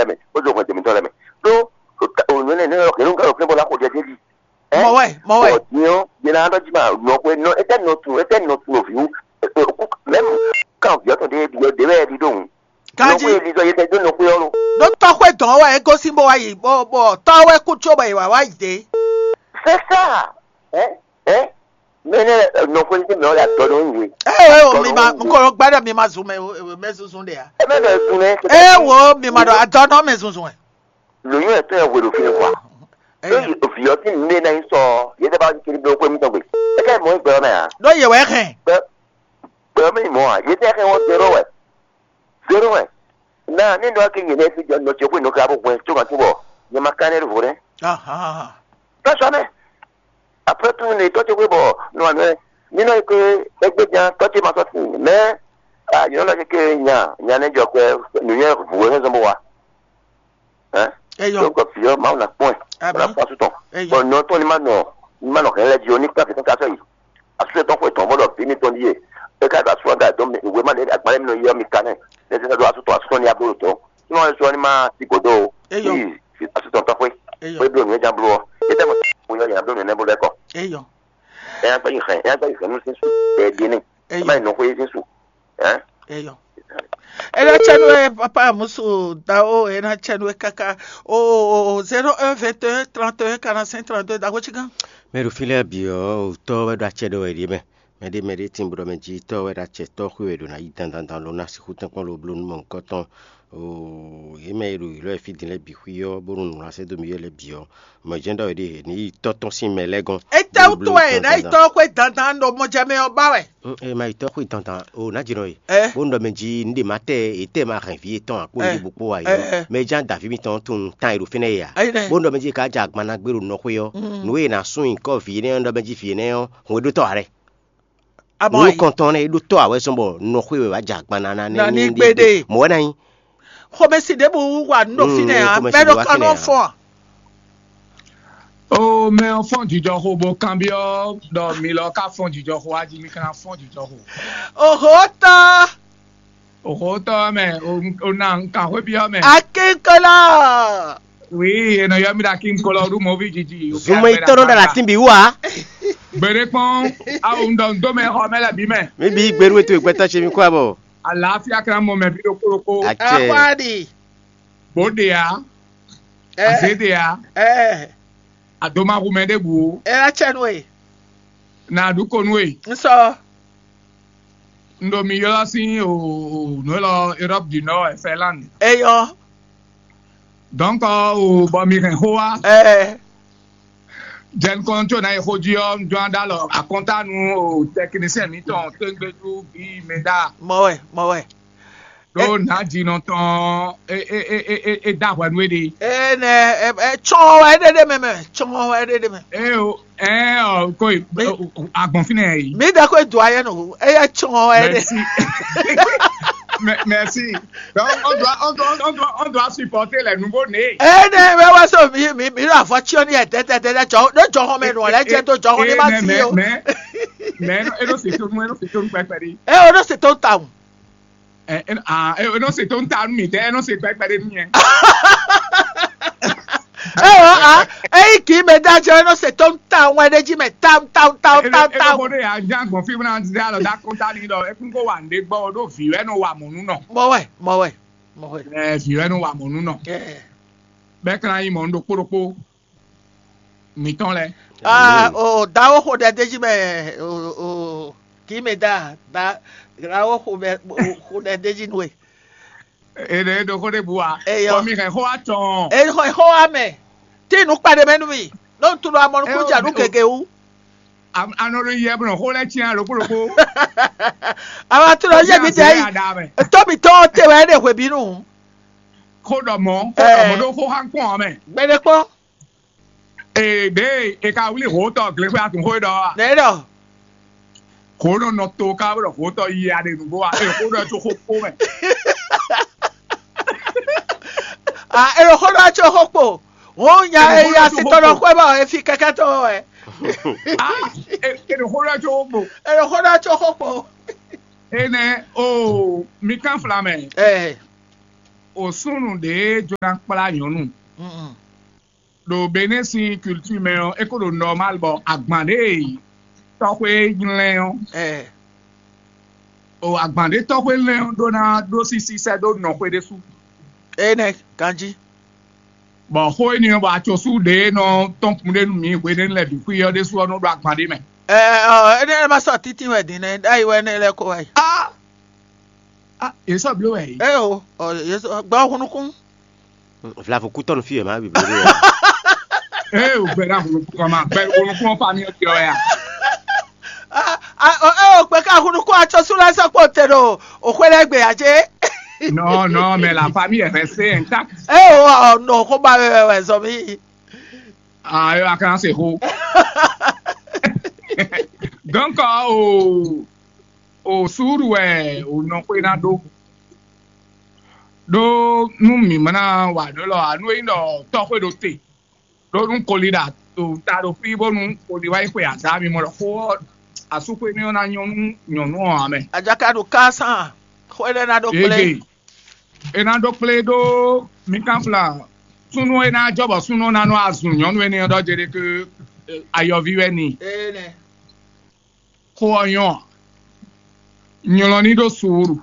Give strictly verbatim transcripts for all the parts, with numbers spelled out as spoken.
mɛ, bó dó hwɛndo mǐtɔn lɛ́ɛ mɛ. Ɖó ònú énɛ́ nɛ́ ɔ́, hɛ̌nnu ka ɖo fínɛ́ bó ná xo ɖɛ d'é jí? Ɛ? Mɔ wɛ, mɔ wɛ. Bɔ din ɔ́, din ɔ́, din ɔ́, é tɛ́ nɔ tun, é tɛ́ nɔ tun nɔví wú, mɛ̌m kan vǐ ɔ́ tɔn ɖé ɖi ɔ́ ɖě wɛ é ɖi ɖó hǔn. Nɔxwé Kanji, é ɖi ɖɔ é tɛ́ dó nɔxwé ɔ́ lo. Ɖó tɔxwé dɔn wɛ é gosín bó wá yi, bɔ bɔ tɔ́ wɛ kú có bɔ è wǎ wá yi dě. C'est ça. Ɛ? Ɛ? Mɛ nɛ nɔxwé ní mɛ ɔ́ ɖo adɔ ɖó nyi. Ɛ ɛ o, mi ma nkɔlɔ gbɛɖɛ mi ma zun mɛ mɛ zunzun ɖe ya. Ɛ mɛ bɛ zun nɛ. Ɛ wo, mi ma ɖo adɔ nɔ mɛ zunzun ɛ. Lǒnyɔ ɛ tɔn ɛ hwe ɖo fínɛ́ kwa. Ɖó vǐ ɔ́ sín nǔɖé ná nyí sɔ ɔ́, yě tɛ bá kiri bló xwé mítɔn gbe. É ká mɔ gbɛ ɔ́ mɛ ǎ. Ɖó yě wɛ hɛn. Gbɛ gbɛ ɔ́ mɛ nyí mɔ̌ ǎ. Yě tɛ hɛn wɔ zéro wɛ. Zéro wɛ. Na ní nɔ ké nyɛ nɛ fi jɔ nɔ ce xwé nɔ ká bó hwɛ tó kan tó bɔ nyɛ ma ká nɛ ɖo vo nɛ. Tɔ́sɔ mɛ. Après tout, ne tɔ́ ce xwé bɔ nɔ anɔ ní nɔ ke égbé jan tɔ́ ce ma sɔ tin mɛ. Ah, nyɛ nɔ ke nya nya ne jɔ kɛ nǔnyɛ vǔ wɛ zɔn bó wa. Hein? Eyɔ. Donc fi ɔ Mawu na kpɔn ɛ. Amen. Wala fɔ asutɔ. Eyɔ. Bon, nɔ tɔn ni ma nɔ ni ma nɔ hɛn lɛ di o ni kpa fi kan ka sɔ yi. Asutɔ tɔn xwe tɔn bɔ dɔ fi mi tɔn di ye. E ka do asutɔ da dɔn mi we ma de agbalɛ mi nɔ yɔ mi ka nɛ. Ne se do asutɔ asutɔ ni abolo tɔn. Sinɔ e sɔ ni ma ti godo o. Eyɔ. Yi asutɔ tɔn xwe. Eyɔ. Xwe blo nuyɛ jan blo ɔ. E tɛ mo mo yɔ yɛn blo nuyɛ ne bolo ɛkɔ. Eyɔ. E yan gbɛ yi hɛn, e yan gbɛ yi hɛn nu sin su. E di ni. Eyɔ. E ma yi nɔ xwe sin su. Hein? Eyɔ. E na cɛ nú ɛ papa musu dawo, e na cɛ nú ɛ kaka o zéro un vingt et un trente et un quarante-cinq trente-deux dago cigan. Mɛ ɖo fí lɛ́ɛ bǐ ɔ́, tɔ́ wɛ ɖo acɛ ɖɔ wɛ ɖíe mɛ. Mɛɖé mɛɖé tín bó ɖɔ mɛ jí tɔ́ wɛ ɖo acɛ tɔ́ xwé wɛ ɖo ná yí dandandan ló ná sixú tɛ́nkpɔ́n ló bló nú mɔ nukɔn tɔn. Oo, yě mɛ e ɖo yǐlɔ e fí din lɛ́ɛ bǐ xwí ɔ́, bónú nǔ ná sɛ́ dó mì yɔ́ lɛ́ɛ bǐ ɔ́, mɔ̌ jɛ́n ɖɔ wɛ ɖíe ní yí tɔ́ tɔn sín mɛ lɛ́ɛ gɔ́n. Étɛ́wútu wɛ è nǎ yi tɔ́ xwé dandan ɖo mɔjɛmɛ ɔ́ ba wɛ? Ɛ ma yi tɔ́ xwé dandan o nǎ jǐ nɔ e. Ɛ. Bónú ɖɔ mɛ jí nǔɖé ma tɛ ètɛ́ ma hɛn vǐ yětɔn a kpó Ɛ. Yě bó kpó wa Ɛ, yě. Ɛ. Mɛ ján dǎví mitɔn tunwun tán e ɖo fínɛ́ e ǎ. Ayi nɛ. Bónú ɖɔ mɛ jí ká jɛ agban ná gbé ɖo nɔ xwé ɔ́, Mm. nǔ e è nǎ sún nyǐkɔ vǐ énɛ́ ɔ́ ɖɔ mɛ jí vǐ énɛ́ ɔ́, hwɛ̌ ɖó tɔ́ ǎ lɛ́. Abɔ Nǔ ayi. Kɔntɔn nɛ́ é ɖó tɔ́ ǎ wɛ zɔ́n bɔ nɔ xwé wɛ wǎ jɛ agban ná ná Ná ní ní gbé ɖe. Mɔ̌ wɛ ná nyí. Xomɛsi ɖěbǔ wa nǔ ɖo Mm, fínɛ́ ǎ, xomɛsi mɛ ɖo ɖě wá kanɔ fínɛ́ ǎ. Fɔ́n a? O mɛ ɔ́ fɔ́n jijɔxo bó kanbyɔ́ ɖɔ mi lɔ ka fɔ́n jijɔxo a jí mi ka ná fɔ́n jijɔxo. Oho tɔ́. Oho tɔ́ mɛ o o na nkan xwé byɔ́ mɛ. Akínkɔlá. Wi e nɔ yɔ mi ɖo akínkɔlɔ ɖu mɔví jiji. Zunmɔ yi tɔ́ nɔ ɖo atín bǐ wú a? Gbede kpɔn awo ŋdɔ ŋdo mɛ xɔ mɛ lɛ bí mɛ. Mi bí gbɛɖú ètò ìgbẹ́tà ṣe mi kó àbọ̀. Àlàáfíà kan mɔ mɛ bí ɖokpó ɖokpó. Àcẹ. Akwáàdì. Bó ɖe ya. Ɛ. Àzé ɖe ya. Ɛ. Àdómáxu mɛ ɖěbǔ. Ɛ wá cɛ nú e. Nà ɖu ko nú e. N sɔ. N ɖo mi ylɔ́ sín o nǔ élɔ́ Europe du Nord et Finlande. Eyɔ. Donc o bɔ mi hɛn xó wá. Ɛ. Jɛn kɔn tso na yi xó jí ɔ́, un jɔ́n ɖó alɔ akɔntánu o technicien mǐtɔn tégbéjú bí mɛ ɖá. Mɔ wɛ, mɔ wɛ. Ɖó nǎjínɔ tɔn é é é é é é dó ahwɛ nú éɖée. Énɛ́ ɛ ɛ tsɔ́n wɛ é ɖe ɖé mɛ mɛ, tsɔ́n wɛ é ɖe ɖé mɛ. Ée o, ɛ ɔ ko yi. Mɛ- o- o- agbɔn fínɛ yɛ yi. Mi ɖe ko do ayɛ nɔ, eye tsɔ́n wɛ é ɖe. Merci. Mais- merci. Donc on doit on doit on doit on doit supporter les nouveaux nés. Énɛ́ mɛ wá sɔ mi mi mi ɖo avɔ tsyɔ ní yɛ dɛdɛdɛdɛ jɔ ɖo jɔxɔ mɛ nɔ lɛ jɛ do jɔxɔ ní ma si o. Mais mais mais e ɖo se tonu e ɖo se tonu pɛpɛ ɖi. Ɛ o ɖo se tɔn ta o. Ɛ ɛ ah ɛ ɛ nɔ se tó ń ta nú mi tɛ ɛ nɔ se pɛpɛ ɖe nú nyɛ. Ɛ o a eyi kì í mɛ dájọ́ ẹ nɔ se tó ń ta wɛn ɖé jí mɛ tam tam tam tam tam. Ɛ ɛ bó ɖe yà já gbɔn fí múná ti dá lọ dá kó tá ní lọ ẹ kún kó wà ní gbọ́ odó vǐ wẹ́ nɔ wà mọ̀ nú nɔ. Mọ wẹ mọ wẹ mọ wẹ. Ɛ vǐ wẹ́ nɔ wà mọ̀ nú nɔ. Ɛ. Bɛ́ kán yí mọ̀ ń ɖokpó ɖokpó. Mǐtɔn lɛ́ɛ. Ah, o dawo xo ɖɛ d'é jí mɛ o o kì í mɛ da da dawo xo mɛ xo ɖɛ d'é jí nú e. Èɖè ɖo xó ɖé bu wa. Eyɔ. Kɔmi hɛn xó wa tɔn. E xɔ xɔ wa mɛ. Tí inú kpa ɖe mɛ nú mi. Ló ń tunu amɔnukú jà nú gègé wú. Anɔ ɖo yɛ bɔ xó lɛ tiɲɛ ɖokpó ɖokpó. Àwọn atúnɔ yé mi tẹ yìí. Tóbi tó tẹ wẹ́ ɖe hwèbínú. Xó ɖɔ mɔ xó ɖɔ mɔ ɖó xó xá kpɔn mɛ. Gbɛɖe kpɔn. Ee ɖe e ka wlí hǒtɔ glexwé atun xó ɖɔ a? Nɛ ɖɔ. Hǒ nɔ nɔ to ká bɔ hǒtɔ yi a ɖe nǔgbó a? E xó ɖɔ tso xó kpó mɛ. A e ɖo xó ɖɔ tso xó kpó. Wò nya e ya si tɔ nɔ xwé bɔ e fi kɛkɛ tɔ wɛ. A e ɖo xó ɖɔ tso xó kpó. E ɖo xó ɖɔ tso xó kpó. Enɛ o mi kan fla mɛ. Ɛ. O súnnu ɖě jló ná kplá nyɔ̌nu ɖo Benɛ́ sín culture mɛ ɔ́, é ko ɖo normal bɔ agban ɖě tɔxwé nylɛ́ ɔ́, o agban ɖě tɔxwé lɛ́n ɔ́ ɖó ná ɖó sísí sɛ́ dó nɔxwé ɖésú. Énɛ́ ganjí. Bɔ xó énɛ́ ɔ́, bɔ acɔsú ɖě nɔ tɔ́n kun ɖé nú mǐ hwenɛ́nu lɛ́ɛ bǐ xwí ɔ́ ɖésú ɔ́ nɔ ɖó agban ɖé mɛ. Ɛ ɔ, énɛ́ lɛ́ɛ ma sɔ́ títí wɛ din nɛ́, ɖ'ayǐ wɛ énɛ́ lɛ́ɛ ko wá yi. Á, á, yě sɔ́ bló wɛ yě. É o, ɔ, yě sɔ́ gbɔ hun nukún. Vlavo kú tɔnu fí wɛ má bi bló wɛ. Ée o gbɛɖá hlukún kɔn ma gbɛ hlukún ɔ́ fa mì ɔ́ jɔ wɛ a? Eo kpɛ ká hun nukún atsɔ́sú lɛ́ɛ sɔ́ kpó te ɖo òxwé lɛ́ɛ gbe ǎ cé? Non, non, mais la famille est restée intacte. Eo ɔ nɔ xó ba wɛ wɛ zɔ mì. Ah, eo a kan se xó. Donc o o suúlu wɛ o nɔ xwé ná ɖó. Ɖó nú mǐ ma ná wa nǔ élɔ́ ǎ, nú é nyí ɖɔ tɔ́xwé ɖo te, ɖó nú koli ɖo ta ɖo fí bónú koli wá yi xwe azǎn mimɔ ɖɔ xó ɔ́, asúxwé énɛ́ ɔ́ ná nyɔ́ nú nyɔ̌nu ɔ́ ǎ mɛ. Ajaka ɖo ká sán, xó énɛ́ ná ɖó kplé. Ege, é ná ɖó kplé ɖó mi kánfla súnnu e ná jɔ bɔ súnnu ɔ́ ná nɔ azun nyɔ̌nu énɛ́ ɔ́ ɖɔ jeɖe ké ayɔví wɛ ni. Énɛ́. Xó ɔ́ nyɔ́ ǎ. Nylɔ ní ɖó suúlu.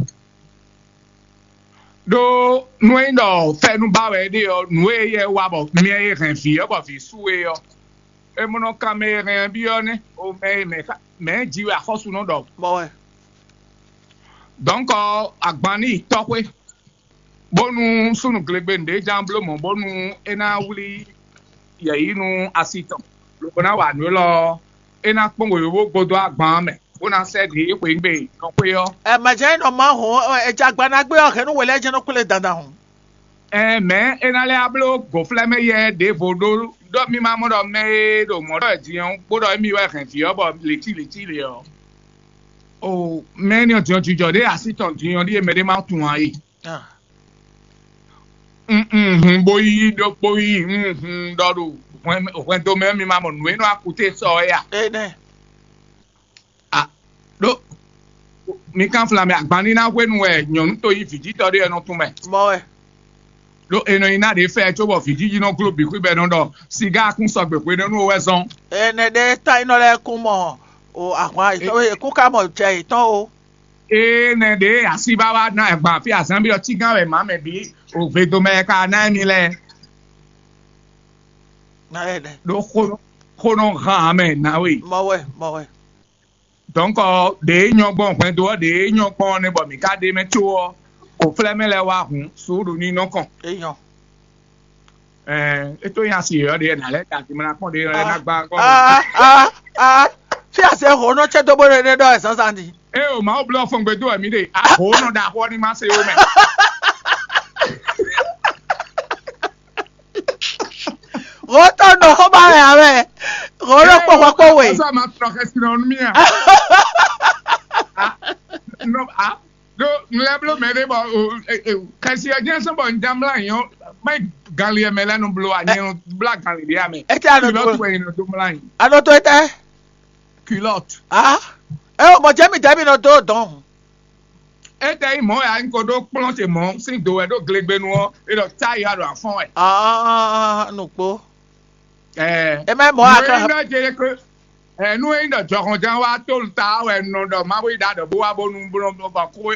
Ɖó nú é nyí ɖɔ fɛ́nú ba wɛ é ɖe ɔ́, nǔ e éyɛ́ wa bɔ mɛ e hɛn vǐ ɔ́ bɔ vǐ su é ɔ́, é mɔ nɔ kan mɛ e hɛn ɛ byɔ́ nɛ́, o mɛ e mɛ ká- mɛ e ji wɛ axɔ́sú nɔ ɖɔ. Bɔ wɛ. Dɔ̌nkɔ agban ní yi tɔ́xwé, bónú súnnu glegbenu ɖě ján bló mɔ̌ bónú é ná wlí yɛ̌yi nú asi tɔn, lobo ná wa nǔ élɔ́ ɔ́, é ná kpɔ́n wěwé bó gbódó agban ɔ́ mɛ, bó ná sɛ́ ɖě xweyǐgbe nɔ xwé ɔ́. Ɛ mɛjɛ nɔ ma hɔn ɛ jagba ná gbé ɔ́ hɛn nú wɛ lɛ́ɛ jɛ́n nɔ kplé dandan hɔn. Ɛɛ mɛ̌ é ná lɛ́ bló gǒflɛ́mɛ yɛ ɖěvo ɖó ɖɔ mí ma mɔ ɖɔ mɛ e ɖo mɔ̌ ɖɔ din ɔ́ kpó ɖɔ émí wɛ hɛn vǐ ɔ́ bɔ lěcí lěcí lě ɔ́. O mɛ énɛ́ ɔ́ din ɔ́ jijɔ ɖě así tɔn din ɔ́ ɖíe mɛɖé ma tunwun ǎ e. Hun bó yí ɖokpó yí hun ɖɔ ɖo hwɛndo mɛ ɔ́ mi ma mɔ nǔ e nɔ akute sɔ ɔ́ ya. Énɛ́. A ɖó mi kánfla mɛ agban ní ná hwenu wɛ nyɔ̌nu to yí vǐjítɔ́ ɖé ɔ́ nɔ tún mɛ. Mɔ wɛ. Ɖó è nɔ nyi ná ɖě fɛ cóbɔ vǐjiji nɔ gló bǐ xwíbɛ́ nɔ ɖɔ sigá kún sɔgbe hwenɛ́nu wɛ zɔn. Ɛnɛ ɖe ta nyí nɔ lɛ́ɛ kún mɔ o ahwan yětɔn e kún ká mɔ jɛ yětɔn o. Énɛ́ ɖě así bá wá ná agban fí azánbí ɔ́ cígán wɛ mǎ mɛ bǐ o vedomɛ ka ná émi lɛ́ɛ. Ɖó xó nɔ hán ǎ mɛ nǎwe. Mɔ wɛ, mɔ wɛ. Donc ɖě nyɔ́ gbɔn hwɛndo ɔ́ ɖě nyɔ́ gbɔn ɔ́ nɛ́ bɔ mǐ ka ɖe mɛ có ɔ́, kò flɛ́ mɛ lɛ́ɛ wá hǔn suúɖu ní nɔ kɔn. É nyɔ́. Ɛɛ é tó nyí asi yɔ̌yɔ́ ɖě nǎ lɛ́ da dimla kpɔ́n ɖě lɛ́ ná gbá kpɔ́n. Ah, ah, ah. Fí ase hǒ nɔ cɛ dó bó ɖe ɖɔ ɛ zǎnzǎn din. É o Mawu blɔ́ fɔngbe dó wɛ mǐ ɖe. Hǒ nɔ ɖo axɔ ní má se ó mɛ. Hǒ tɔn nɔ xó ba wɛ ǎ wɛ. Hǒ nɔ kpɔ́ hwɛ kpɔ́ we. Ɔsɔ ma tɔ xɛsi nɔ nú mì a. Nɔ a ɖo nlɛbló mɛ ɖé bɔ xɛsi ɛ jɛn sɔn bɔ n jamla yɔ mɛ ganli ɛ mɛ lɛ nu blo a nyɛ nu bla ganli ɖe amɛ. Ete anɔ to. Wɛ yin nɔ do mla yin. Anɔ to ete. Culotte. Ah. Ɛ o mɔ jɛ mi dɛ mi nɔ do dɔn. Ete yi mɔ ya n ko ɖo kplɔn ce mɔ sin do wɛ ɖo glegbenu ɔ e ɖɔ ta yi aɖo afɔn wɛ. Ah, nukpo. Ɛɛ. E ma mɔ aka. Nɔ jɛ ko. Ɛ nu e nyí ɖɔ jɔhɔnján wá tólu ta wɛ nɔ ɖɔ Mawu yi ɖa ɖɔ bó wá bónú bó nɔ bɔ kó.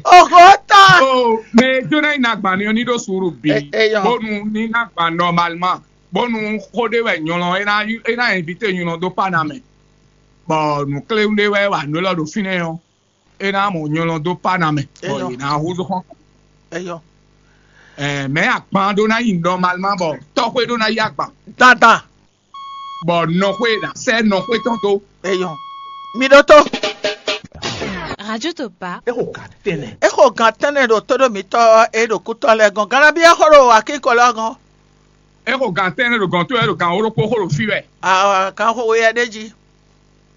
Oho ta. O mɛ e jó ná yi na gbani ɔ́ ní ɖó suúru bǐ. Bónú ní na gban nɔmalima bónú xó ɖé wɛ nyɔlɔ é ná é ná invité nyɔlɔ dó Panama. Bɔ nǔkléwún ɖé wɛ wà nú élɔ́ ɖo fínɛ́ ɔ́, é ná mɔ nyɔlɔ dó Panama. Bɔ yě ná húzú xɔ́n. Eyɔ. Ɛɛ mɛ agban ɖó ná yi nɔmalima bɔ tɔxwé ɖó ná yi agban. Dandan. Bɔ nɔxwé ná sɛ nɔxwé tɔn dó. Eyɔ. Mi ɖótó. Radio Topa. E xo gan tɛnɛ. E xo gan tɛnɛ ɖo tóɖó mitɔ e ɖo kútɔ lɛ gɔn. Ganabi e xo ɖo akíkɔ lɛ gɔn. E xo gan tɛnɛ ɖo gɔn tó wɛ ɖo gan wó ɖokpó xo ɖo fí wɛ. Ah, gan xo we yɛ ɖe jí.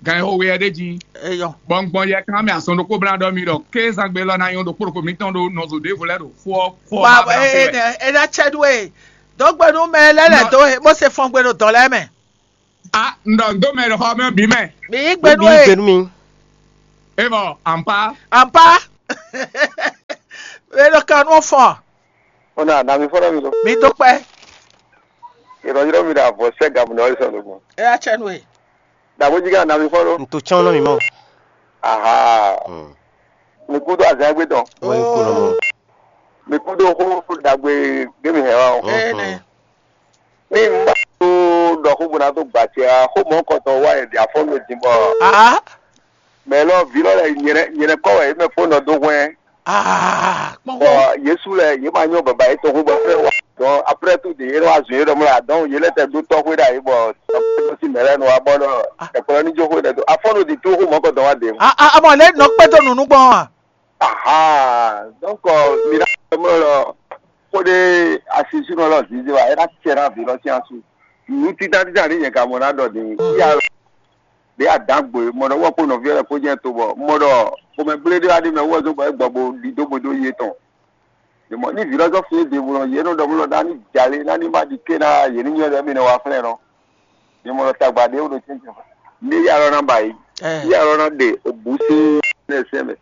Gan xo we yɛ ɖe jí. Eyɔ. Bɔ un gbɔn yɛ kan mɛ azɔn ɖokpó bla ɖɔ mi ɖɔ kézangbe lɔ na nyɔ ɖokpó ɖokpó mitɔn ɖo nɔzo ɖěvo lɛ ɖo xó ɔ́ xó ɔ́ ba bla xó wɛ. E na cɛ ɖu e. Dɔgbe nú mɛ lɛ lɛ dó e bó se fɔn gbe ɖo dɔ̌ lɛ́ɛ mɛ. A un ɖɔ un dó mɛ ɖo xɔ mɛ bǐ mɛ. Mi yí gbe nú e. Gbenu mi. E mɔ ampa. Ampa. E ɖo kan nú fɔn. Ona na mi fɔlɔ mi lo. Mi dó kpɛ. Yrɔ yrɔ mi ɖe avɔ sɛ gamu na ɔli sɔn lo gbɔn. E ya tsɛ nu e. Dabo jiga na mi fɔlɔ. N to tsɔn nɔ mi mɔ. Aha. Mi kú dó azan gbé tɔn. Wọ́n yín kú lọ́mọ. Mi kú dó xó dagbe gbé mi hɛ wa o. Ee nɛ. Ní n bá tó ɖɔ xó bó ná tó gbà tse a xó mɔ kɔtɔ wá yɛ di afɔ mi dín bɔ. Aa. Mɛ lɔ vi lɔ lɛ nyɛrɛ nyɛrɛ kɔ wɛ yě mɛ fó nɔ dó hwɛn. Aa. Kpɔn bɔ xó. Yesu lɛ yě ma nyɔ baba yě tɔn xó bɔ fɛ wa dɔn après tout de yě wá zun yě ɖɔ mɔ la dɔn yě lɛ tɛ dó tɔxwé ɖa yě bɔ tɔxwé sí mɛ lɛ nɔ wa bɔ nɔ ɛkplɔ ní jó xó ɖɛ tó afɔ nɔ di tó xó mɔ kɔtɔ wá de. A a a mɔ lɛ nɔ kpɛtɔ nunu gbɔn wa. Aha, donc mi ɖa mɔ lɔ kó ɖe asisúnɔ lɔ zizi wa é ná tiɛ ná vi lɔ sín asu. Nǔ títá títá ní nyɛ ka mɔ ná ɖɔ din. Iya ɖe adǎgbo e mɔ ɖɔ wɔ kó nɔví ɔ́ lɛ kó jẹ́ to bɔ mɔ ɖɔ xomɛgblé ɖé wá ɖi mɛ wɔ zó bɔ é gbɔ bo ɖi dó bo dó yé tɔn. Mɔ ní vǐ lɔ zɔ́ fún yé ɖěvo lɔ yě nɔ ɖɔ mɔ lɔ ná ní jalé ná ní má ɖi ké ná yě ní nyɔ́ ɖɔ mì nɔ wá flɛ́n nɔ. Mɔ ɖɔ tagba ɖé wó ɖo tɛ́ntɛn. Ní yá lɔ ná ba yí. Yá lɔ ná ɖe òbú sín nɛ sɛn mɛ.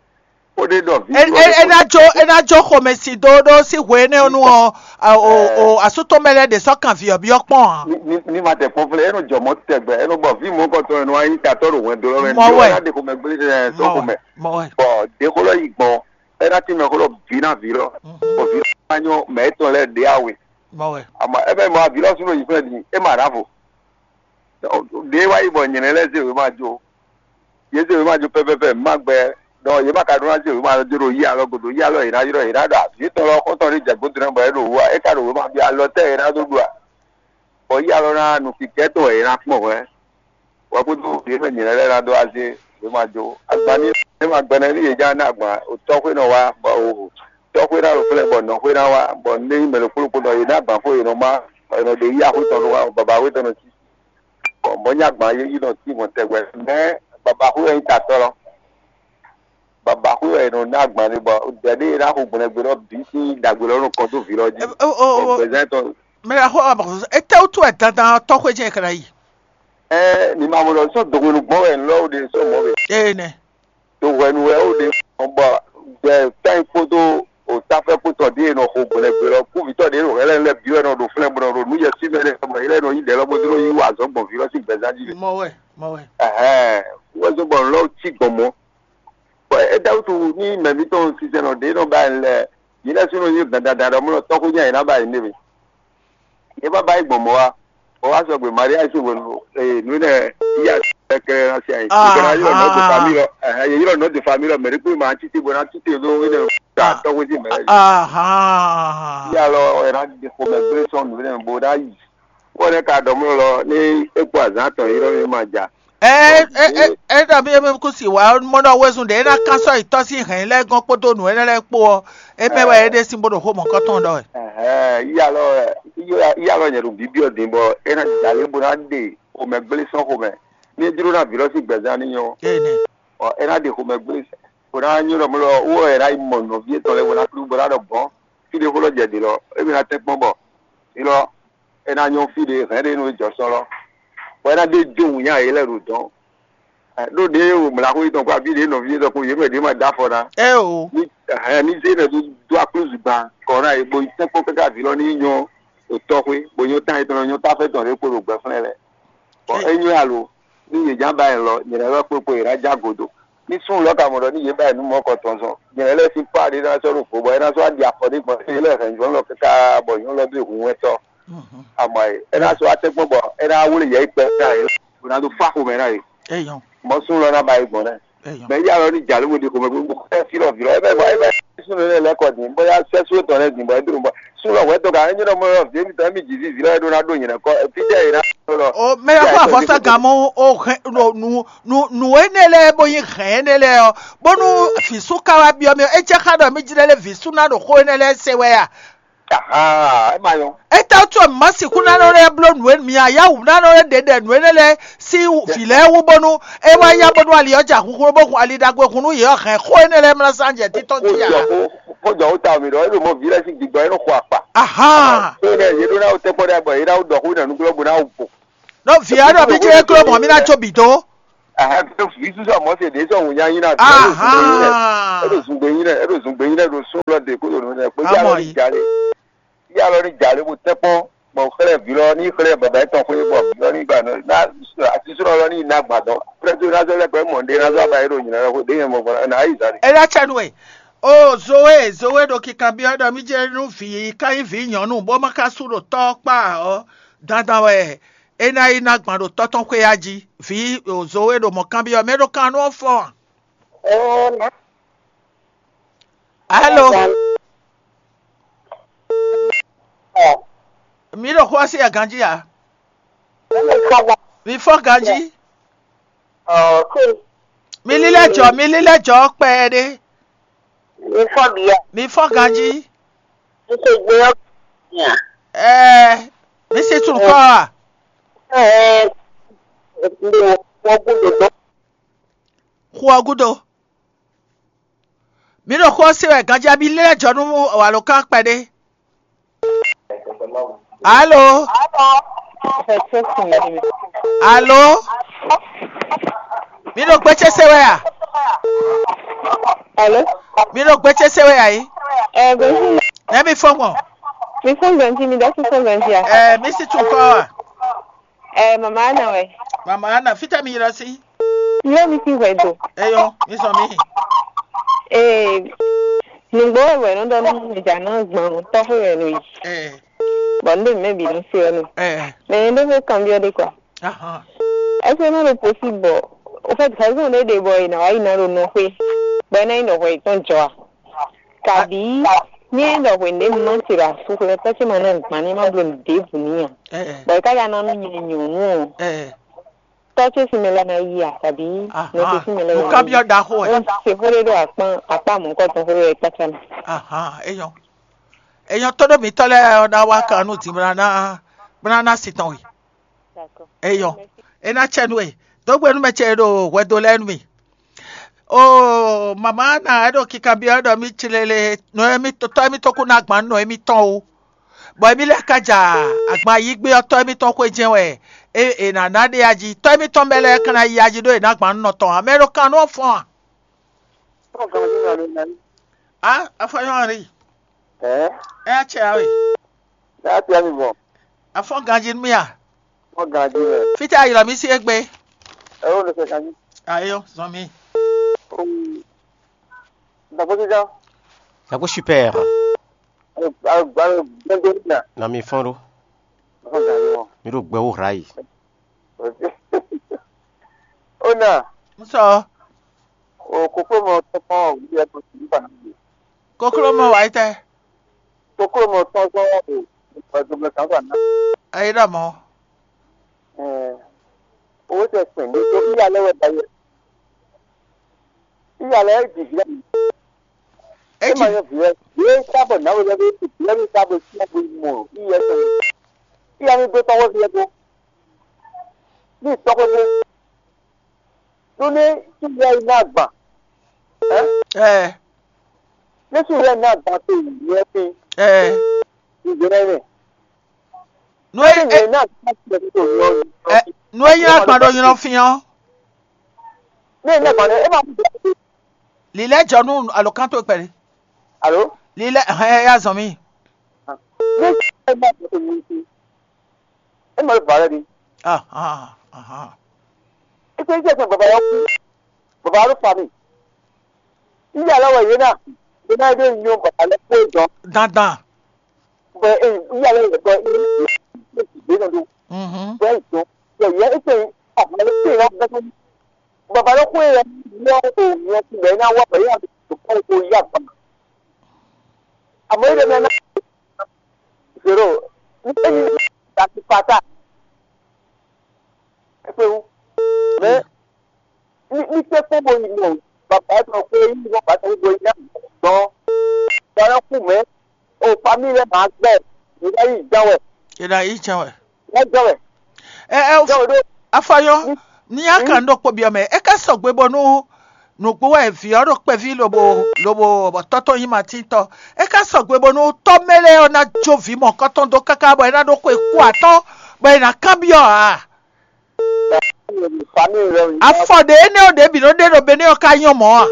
Ó ɖe ɖɔ vǐ. E e e ná jó e ná jó xomɛsi dó ɖó sí hwe énɛ́ nu ɔ́, o o asútɔ́ mɛ lɛ́ɛ ɖě sɔ́ kan vǐ ɔ́ byɔ́ kpɔ́n ǎ. Ní ma tɛ kpɔ́n flɛ́ é nɔ jɔ mɔ̌ tɛgbɛ é nɔ bɔ vǐ mɔ̌kɔtɔn e nɔ wá nyí tatɔ́ ɖo hwɛndo lɔ mɛ ní wá ɖe xomɛ gblé tɛn tó xomɛ. Bɔ ɖěxó lɔ yi gbɔn é ná tín mɛxó lɔ bǐ ná vǐ lɔ bɔ vǐ lɔ ná nyɔ́ mɛ étɔn lɛ́ɛ ɖě awe. Àmọ́ é mɛ mɔ vǐ lɔ sú ɖo yi flɛ́ din é ma ɖǎvo. Ɖě wá yi bɔ nyɛ̌nɛ lɛ́ɛ zé wěma jó. Yě zé wěma jó pɛ́pɛ́pɛ́ má gbɛ ɖɔ yě ma ka ɖó ná zé wěma jó ɖo yí alɔ godo yí alɔ yě ná ylɔ́ yě ná ɖɔ avǐ tɔn lɔ xɔ́ntɔn ɖé jɛ gǒdo ná bɔ é ɖo wǔ a é ka ɖo wěma ɖi alɔ tɛ́ yě ná dó ɖu a. Bɔ yí alɔ ná nu kikɛ́ tɔn wɛ yě ná kpɔ́n hwɛ̌. Wɛ kúdú yě mɛ nyǐlɛ́ lɛ́ɛ ná dó azé yě ma jó. Agban ní yě ma gbɛnɛ ní yě já ná agban tɔ́xwé nɔ wá bɔ tɔ́xwé ná ɖo flɛ́ bɔ nɔxwé ná wá bɔ ní mɛ ɖokpó ɖokpó nɔ yě ná agban xó yě nɔ má bɔ yě nɔ ɖe yí axwé tɔn nɔ wá bɔ baba axwé tɔn nɔ cí. Bɔ mɔ̌ nyi agban yé yi nɔ cí mɔ tɛgbɛ mɛ baba axwé wɛ nyí tatɔ́ lɔ. Baba axwé wɛ è nɔ ná agban ní bɔ dɛ̌ ɖé e ná xo gbɔnɛgbé lɔ bǐ sín ɖagbe lɔ nɔ kɔn dó vǐ lɔ jí. Bɔ gbɛzán tɔn. Mɛ la xɔ ɔmɔ etɛ́ wútu wɛ dandan tɔ́xwé jɛ kɛlɛ yi. Ɛ ní ma mɔ lɔ sɔ dohwenu gbɔn wɛ lɔ wo ɖe sɔ mɔ wɛ. Ee nɛ. Dohwenu wɛ wo ɖe bɔ gbɛ tán kpódó o tafɛ kpótɔ ɖi e nɔ xo gbɔnɛgbé lɔ kúvitɔ ɖe nɔ hɛlɛ lɛ bi wɛ nɔ ɖo flɛn bɔ nɔ ɖo nú yɛ sí mɛ lɛ bɔ yɛ lɛ nɔ yi ɖɛ lɔ bó dó yi wa azɔ̌ gbɔn vǐ lɔ sín gbɛzán jí. Mɔ wɛ mɔ wɛ. Ɛhɛn wọ́n zɔ́n bɔ lɔ cí gbɔn mɔ. Bɔ é dá wútu ní mɛ mǐtɔn sinsɛnɔ ɖě nɔ ba ɛ lɛ yě lɛ́ súnnu nyí gbadada ɖɔ mɔ tɔ́xú nyí ayǐ ná ba yě nɛ mɛ. Yě má ba yí gbɔn mɔ̌ wá. Bɔ wá sɔgbe Maria sín hwenu ee nǔ nɛ yíyá kɛkɛ ná sí ayǐ. Yě ná ylɔ́ nɔ́ dó famí lɔ. Yě ylɔ́ nɔ́ dó famí lɔ mɛ ɖé kpé ma títí bó ná títí ɖó énɛ́ ta tɔ́xú sín mɛ. Yíyá lɔ ɛ ná di xomɛ gbé sɔ́ nǔ nɛ bó ná yi. Wọ́n ka ɖɔ mɔ lɔ ní é kpó azǎn tɔn yí lɔ ní ma ja. Ɛ ɛ ɛ ɛ ɖɔ mí mí kú si wǎ mɔ ɖɔ wezun ɖě é ná kán sɔ́ yi tɔ́ sín hɛ̌n lɛ́ɛ gɔ́n kpódó nǔ énɛ́ lɛ́ɛ kpó ɔ́, é mɛ wɛ é ɖe sín bó ɖo xó mɔ̌kɔtɔn ɖɔ wɛ. Yíyá lɔ yíyá lɔ nyɛ ɖo bíbí ɔ́ din bɔ é ná jalé bó ná ɖe xomɛ gblé sɔ́ xomɛ ní é jló ná vǐ lɔ sín gbɛzán ní nyɔ́. Énɛ́. Ɔ é ná ɖe xomɛ gblé bó ná nyɔ́ ɖɔ mɔ lɔ wó ɛ ná yi mɔ nɔví étɔn lɛ́ɛ bó ná klú bó ná ɖɔ gbɔn fí ɖé xó lɔ jɛ ɖě lɔ é mɛ ná tɛ́nkpɔ́n bɔ é lɔ é ná nyɔ́ fí ɖé hɛ̌n ɖé nú é jɔ sɔ́ lɔ. Bɔ é ná ɖe jó wǔ nya yě lɛ́ ɖo dɔ̌n. Ɖó ɖě wo mlǎxó yětɔn kpó abí ɖě nɔví yětɔn kpó yě mɛ ɖě ma dó afɔ ná. Ɛ o. Ní hɛn ní zé nɛ dó dó aklúzu gban kɔ ná yě bo yi tɛ́nkpɔ́n káká vǐ lɔ ní nyɔ́ ɖo tɔxwé bo nyɔ́ tán yětɔn nyɔ́ táfɛ tɔn ɖě kpo ɖo gbɛflɛ́n lɛ́ɛ. Bɔ é nyɔ́ alo ní yě já ba ɛ lɔ nyɛ lɛ́ wɛ kpó kpo yě ná já godo. Ní súnnu lɔ ka mɔ ɖɔ ní yě ba ɛ nú mɔ̌ kɔ tɔn zɔn nyɛ lɛ́ sín pá ɖé ná sɔ́ ɖo vo bɔ é ná sɔ́ wá ɖi afɔ ɖé gbɔn é lɛ́ hɛn nyɔ̌nu lɔ káká bɔ nyɔ̌nu lɔ dó hun wɛ́tɔ́. Amɔ e é ná sɔ́ wá tɛ́nkpɔ́n bɔ é ná wlé yɛ yi kpɛ ká yě bó ná dó fá xomɛ ná yě. Mɔ súnnu lɔ ná ba yi gbɔn nɛ. Mɛ yá lɔ ní jà ló bó ɖi xomɛ gbogbo ɛ fí lɔ vǐ lɔ ɛ bɛ bɔ ɛ bɛ súnnu lɛ lɛ kɔ dín bóyá sɛ́sú tɔn lɛ dín bɔ é dó bɔ súnnu lɔ wɛ tɔn ká ɛ nyɔ́ mɔ lɔ vǐ mi tɔn ɛ mi jì vǐ vǐ lɔ ɛ ɖó ná ɖó nyɛ kɔ ɛ fí jɛ yě ná lɔ. O mɛ yà kó àfɔsá gàmú o hɛn nu nu nu énɛ́ lɛ́ɛ bó nyí hɛn énɛ́ lɛ́ɛ ɔ́ bónú vǐ sú ká wá byɔ́ mì ɔ́ é jẹ́ xá ɖɔ mí jlɛ́ lé vǐ sú ná ɖo xó énɛ́ lɛ́ɛ se wɛ a? Ahan, é ma nyɔ. Étɛ́ wútu wɛ mǐ ma sixú ná nɔ lɛ́ bló nǔ e mǐ ayáwǔ ná nɔ lɛ́ ɖě ɖɛ nǔ énɛ́ lɛ́ɛ sín vǐ lɛ́ɛ wú bónú é wá yá bónú ali ɔ́ ja huhu bó hun ali ɖagbe hun nú yě ɔ́ hɛn xó énɛ́ lɛ́ɛ mlá sán jɛ títɔn jí ǎ? Kó jɔ ó ta mì ɖɔ é ɖo mɔ vǐ lɛ́ɛ sín gbigbɔ é nɔ xɔ akpa. Ahan. Xó énɛ́ yě ɖó ná wó tɛ́kpɔ́ ɖɛ bɔ yě ná wó ɖɔ xó nɛ́ nú glɔ́ bó ná wó bo. Ɖó vǐ ɔ́ ɖɔ mí jlé gló mɔ̌ mí ná có bǐ dó. Aha, vǐ sísɔ mɔ̌ se ɖě sɔ wǔnya nyi ná. Ahan. Eɖo zungbe nyi lɛ, eɖo zungbe nyi lɛ ɖo sún lɔ de kó ɖo nǔ lɛ kpé. Amɔ yá lɔ ní yi. Jalè, yá lɔ ní jalè bó tɛ́ kpɔn. Bɔ xlɛ́ vǐ lɔ ní xlɛ́ baba yɛtɔn xwé bɔ vǐ lɔ ní gba nɔ ná asisúnɔ lɔ ní yi ná gbadɔ. Xlɛ́ tó ná zɔ lɛ gbɛ mɔ ɖé ná zɔ aba yɛ ɖo nyina lɔ xwé ɖé nyɛ mɔ gbɔn ná yi zan. Eɖa cɛ nú we. O Zowe, Zowe ɖo kikanbyɔ́ ɖɔ mí jɛ nú vǐ ka nyí vǐ nyɔ̌nu bó ma ka sú ɖo tɔ́ kpá ɔ́, dandan wɛ é ná yi ná gbɔn ɖo tɔ́ tɔn xwé ya jí. Vǐ o Zowe ɖo mɔ̌ kanbyɔ́ mɛ ɖo kan nú ɔ́ fɔ́n a? Alo, mi ɖo xó ɔ́ sí aganjí a? Mi fɔ́n ganjí. Mi lílɛ́ jɔ, mi lílɛ́ jɔ kpɛɖé. Mi fɔ́n bia. Mi fɔ́n ganjí. Mi se gbé ɔ́. Ɛɛ, mi si tún kɔ a? Ɛɛ, mi wɔ gúdo dó. Xu ɔ́ gúdo. Mi ɖo xó ɔ́ se wɛ ganjí, mi lílɛ́ jɔ nú alǒkan kpɛɖé. Alo. Alo. Mi ɖo gbé ce se wɛ a? Alo. Mi ɖo gbé ce se wɛ a yi? Ɛ gbɛnji. Nɛ mi fɔn gbɔn. Mi fɔn gbɛnji, mi dasi fɔn gbɛnji a? Ɛ mi si tún kɔ a? Ɛ mama ana wɛ. Mama ana, fita mi ylɔ si? Yɔ mi si hwɛ do. Eyɔ, mi sɔ mi. Ee, nugbo wɛ wɛ nɔ dɔ nɔ mi dza nɔ gbɔn tɔxɛ wɛ no yi. Ɛ. Bɔ n ɖe mɛ bi nɔ se ɔnu. Ɛ. Mɛ n ɖe fɛ kan biɔ de kɔ. Ahan. Ɛsɛ nɔ ɖo posi bɔ o fɛ gazon ɖe ɖe bɔ e na wa yi na ɖo nɔ xwe. Bɔ e na yi nɔ hwɛ yi tɔn jɔ a? Kabi nyɛ ɖɔ hwenu ɖé ma se ɖo asú xlɛ́ tɔ́ ce ma ná gban ní ma bló nǔ ɖěbǔ n'i ǎ. Ɛ. Bɔ é ka ka ná nú nyɛ nyɔ̌nu ɔ́, ɛ. Tɔ́ ce sín mɛ lɛ́ɛ ná yí a, kabi nɔ ce sín mɛ lɛ́ɛ ná yí? Lukabiɔ ɖaxó ɛ. Ó se xó ɖé ɖo akpá akpá mɔ̌kɔtɔn xó ɖé kpácá mɛ. Ahan, eyɔn. Eyɔn tɔ́ ɖo mǐtɔn lɛ́ɛ ɔ́ ná wá kan nú din bó ná ná bó ná ná sin tɔn we. Eyɔn. É ná cɛ nú we. Dǒ gbe nú mɛ ce e ɖo hwɛdo lɛ́ɛ nú mì. Oo, mama ná é ɖo kikanbyɔ́ ɖɔ mì clele nɔ émí tɔ́ émítɔn kún ná gban nɔ émítɔn ó. Bɔ émí lɛ́ɛ ka ja agban yí gbé ɔ́, tɔ́ émítɔn xwé jɛ́n wɛ é è nǎ ná ɖe ají. Tɔ́ émítɔn mɛ lɛ́ɛ ka ná yí ají ɖó è nǎ gban nɔ tɔn ǎ. Mɛ e ɖo kan nú ɔ́ fɔ́n a? Á, afɔ́nyɔ́ Henri. Ɛ? É ná cɛ ǎ we. Ɛ á tya mi gbɔn. Afɔ́n ganjí nú mì a? Fɔ́n ganjí mɛ. Fítɛ́ a ylɔ́ mì sí égbé? Ɛ ó lè fẹ́ ganjí. Ayɔ, zɔn mi. Dàgbò jíjá. Dàgbò super. Alo, alo, alo, gbɛndé nà. Na mi fɔn ɖo. Fɔ́n ganjí mɔ. Mi ɖo gbɛ wo hra yi. Ó nà. N sɔ. O kókó mɔ tɔkpɔn o wuli ɛ tó ti nípa náà. Kókó mɔ wáyé tɛ. Kókó mɔ tɔkpɔn o ìgbà tó mɛ kàn fà náà. Ayé dà mɔ. Owó tɛ pɛn ní tó bí alẹ́ wɛ ba yẹ. Bí alẹ́ ẹ jì jì. Ẹ jì. Yẹ sábà náà wọlé bí ìpìlẹ̀ bí sábà sí àgbo ìmọ̀ ìyẹn tó. Ìyá mi gbé tọwọ́ fi ẹ tó. Ní ìtọ́kọ́ tó. Nú ní Israɛli ná agban. Ɛ. Ní Israɛli ná agban tó nyɛ fi. Ɛ. Ìgbéra rẹ̀. Nú é Ní é ìyẹn náà ti máa ti bẹ̀rẹ̀ tó yọ. Ɛ, nú é nyí agban ɖo nylɔ fín ɔ́. Ní ìyẹn náà gbàdé, é máa mú bẹ̀rẹ̀. Lǐlɛ́ jɔ nú alǒkan tó kpɛɖé. Alo? Lǐlɛ́ hɛn ya zɔn mì. Ní Israɛli ná agban tó nyɛ fi. É máa bàrẹ̀ ni. Ah, ah, ah. Ipò iṣẹ́ ìṣẹ́ bàbá yẹn kú. Bàbá ló fa mi. Iye alẹ́ wẹ̀ yé náà. Yé náà yé nyɔ bàbá lẹ́ kó jọ. Dandan. Bɛ e iye alẹ́ wẹ̀ gbọ́ iye ìgbé náà ló. Mhm. Bɛ ìjọ. Yẹ yẹ ipò àbúrò pé ìyá gbẹ́sẹ̀. Bàbá ló kó yẹ yọ òòyìn ẹtì bẹ́ẹ̀ náà wá bẹ̀rẹ̀ yà tó kọ́ ipò yá gbà. Àmọ́ ilé mi náà. Zero. Nítorí ìgbà tí pátá. Ẹ pé wú. Bẹ́ẹ̀. Ní ní pé kó bo yi mɔ bàbá ẹ sọ pé yí wọ́n bá tó bo yi náà gbọ́n. Bọ́lá kú mẹ́, o famí rẹ̀ máa gbẹ, ìdá yìí jẹ́ wẹ̀. Ìdá yìí jẹ́ wẹ̀. Wọ́n jẹ́ wẹ̀. Ɛ ɛ Jẹ́ wẹ̀ dó. Afɔyɔ, ní a kan ɖo kpɔbiɔ mɛ, e ka sɔgbe bɔnu nukpo wɛ vǐ ɔ́ ɖo kpɛví lobo lobo bɔ tɔ́tɔ́ nyí matítɔ. E ka sɔgbe bɔnu tɔ́ mɛ lɛ́ɛ ɔ́ ná jó vǐ mɔ̌kɔtɔn dó káká bɔ é ná ɖó xwe kú atɔ́ bɔ é ná kanbyɔ́ ǎ. Famille lɔ. Afɔ ɖě énɛ́ ɔ́ ɖě bǐ nɔ ɖe ɖo Benɛ́ ɔ́ ka nyɔ́ mɔ̌ a?